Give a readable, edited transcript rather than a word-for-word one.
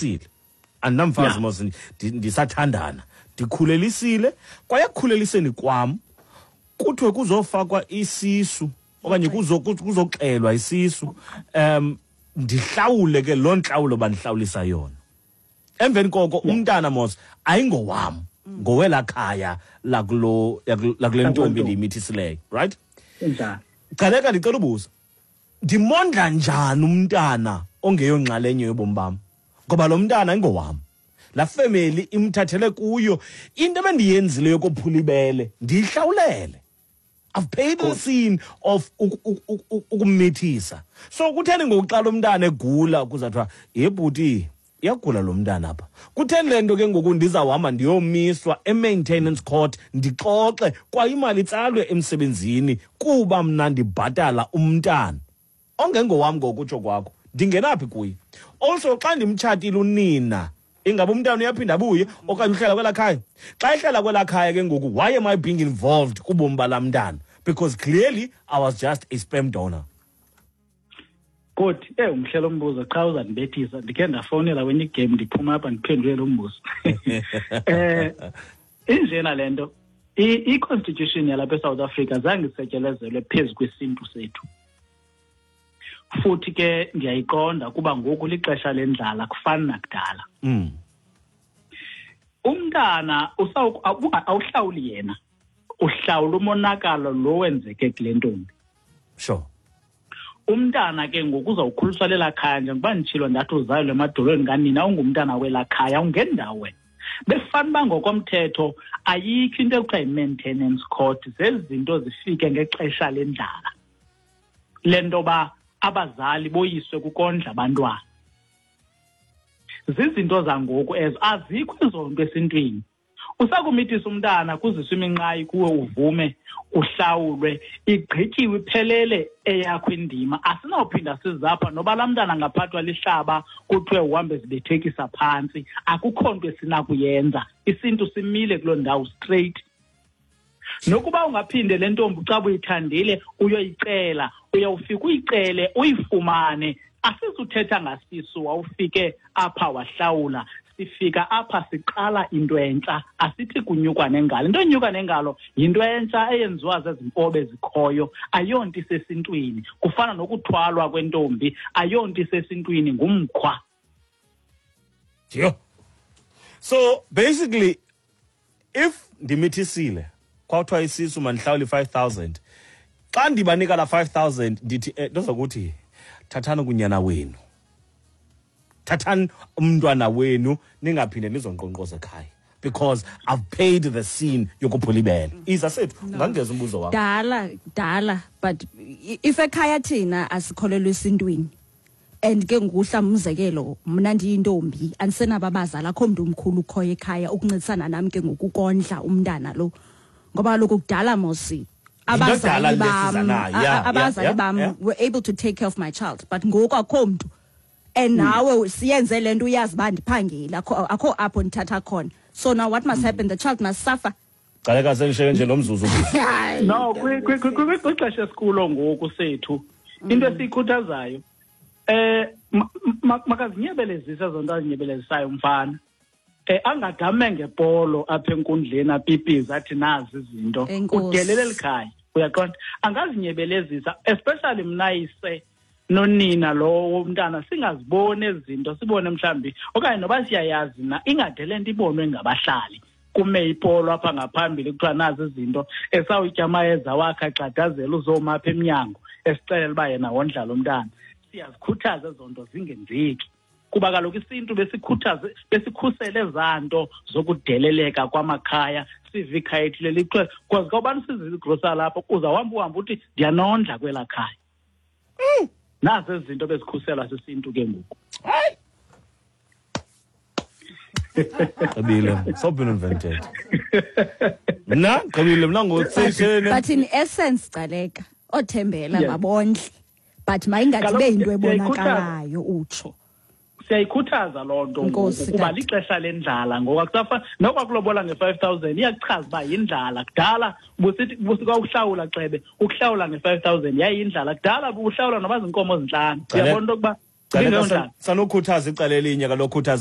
Ndikhulelisile, andinamfazi mos, ndisathandana, ndikhulelisile. Kwaye ekukhuleliseni kwam kuthiwe kuzofakwa isisu okanye kuzoxelwa isisu, ndihlawule ke loo ntlawulo bandihlawulisa yona. Emveni koko umntana mos ayingowam, ngowela khaya lakule ntombi ndiyimithisileyo, right? Gcaleka, ndicela ubuza, ndimondla njani umntana ongeyonxalenye yobomi bam? Ngoba lo mntana ayingowam, laa family imthathele kuyo. Into ebendiyenzile yokophula ibele ndiyihlawulele. I've paid the sin of ukumithisa. So kutheni ngoku xa lo mntana egula kuzathiwa, ye bhuti, iyagula lo mntana apha? Kutheni le nto ke ngoku ndizawuhamba ndiyomiswa e-maintenance court, ndixoxe kwaye imali itsalwe emsebenzini kuba mna ndibhatala umntana ongengowam? Ngokutsho kwakho ndingenaphi kuye? Also, xa ndimtshatile unina, ingaba umntana uyaphinda abuye okanye uhlala kwelaa khaya? Xa ehlala kwelaa khaya ke ngoku, why am I being involved kubomi balaa mntana? Because clearly I was just a sperm donor. Good. Umhle lo mbuzo, qha uzandibethisa. Ndikhe ndafowunela kwenye igame, ndiphuma apha ndiphendule lo mbuzo. Injena le nto, i-constitution yalapha eSouth Africa zange isetyelezelwe phezu kwesintu sethu. Futhi ke ndiyayiqonda kuba ngoku lixesha lendlala, kufani nakudala. Umntana awuhlawuli yena, uhlawula umonakalo lo wenzeke kule ntombi. Umntana ke ngoku uzawukhuliswa lelaa khaya, njengoba nditshilo ndathi uzalelwe emadolweni kanina, ungumntana welaa khaya, ungendawo wena. Befana uba ngokomthetho ayikho into ekuthiwa yi-maintenance court, zezi zinto zifike ngexesha lendlala. Le nto ba abazali boyiswe kukondla abantwana. Zizinto zangoku ezo, azikho ezo nto esintwini. Usakumithisa umntana kuziswe iminqayi kuwe, uvume uhlawulwe, igqityiwe iphelele eyakho indima. Asinawuphinda sizapha noba laa mntana angaphathwa lihlaba kuthiwe uhambe zibethekisa phantsi, akukho nto esinakuyenza. Isintu simile kuloo ndawo straight. Nokuba ungaphinde le ntombi xa uyithandile uyoyicela, uyawufika uyicele uyifumane. Asizuthetha ngasisu wawufike apha wahlawula, sifika apha siqala into entsha, asithi kunyukwa nengalo. Into enyuka nengalo yinto entsha eyenziwa zezimpobe zikhoyo, ayonto isesintwini. Kufana nokuthwalwa kwentombi, ayonto isesintwini, ngumkhwa. Yho. So basically if ndimithisile kwathiwa isisu mandihlawule i-5,000, xa ndibanika la 5,000 ndithi ndozokuthi thathani kunyana wenu, thathani umntwana wenu, ningaphinde nizonkqonkqoza ekhaya, because I've paid the sin yokuphula ibele. Iza sethu, ungangeza umbuzo wakho. Dala, dala, but if ekhaya thina asikholelwa esintwini, and ke ngoku umzekelo mna ndiyintombi, andisenabo abazali, akho mntu omkhulu ukhoyo ekhaya ukuncedisana nam ke ngokukondla umntana lo, ngoba kaloku kudala mosi abazali bam, abazali bam were able to take care of my child, but ngoku akho mntu. And nawe siyenze le nto uyazi uba ndiphangile, akho apho ndithatha khona. So now what must happen? The child must suffer. Gcaleka, sendisheke nje lo mzuzu. No, kwixesha esikulo ngoku sethu, into esiyikhuthazayo, makazinyebelezise ezo nto azinyebelezisayo umfana. Angadame ngepolo apha enkundleni apipize athi nazi izinto. Udelele elikhaya, uyaqonda? Angazinyebelezisa, especially mna yise nonina lo womntana singaziboni ezi zinto, sibone mhlambi okanye noba siyayazi na, ingade le nto ibonwe ngabahlali. Kume ipolo apha ngaphambili kuthiwa nazi izinto, esawutya amayeza wakhe agxadazela uzoma apha emnyango esixelela uba yena wondla lo mntana. Siyazikhuthaza ezo nto zingenzeki, kuba kaloku isintu besikhusele ezaa nto zokudeleleka kwamakhaya. Sive ikhaya ethile lithiwe, because xa ubani usizile igrosa lapho, uzawuhamba uhambe uthi ndiyanondla kwelaa khaya. Nazi ezi zinto bezikhuselwa sisintu ke ngoku. Hayi. Gqibile, so been invented. Mna gqibile mna ngotsishene. But in essence, Gcaleka, othembela mabondle, but mayingathi Kaloku ibe yinto siyayikhuthaza. ebonakalayo utsho. Siyayikhuthaza loo nto ngoku, Nkosi, kuba tata. lixesha lendlala ngoku. Akusafa noba kulobola nge-5,000 iyakuchaza uba yindlala. Kudala busithi busika ukuhlawula xebe, ukuhlawula nge-5,000 yayiyindlala. Kudala buhlawula noba zinkomo zintlanu. Gcaleka. Uyabona into yokuba Gcaleka, ingeyondlala. sanokhuthaza icala elinye kaloku, khuthaza.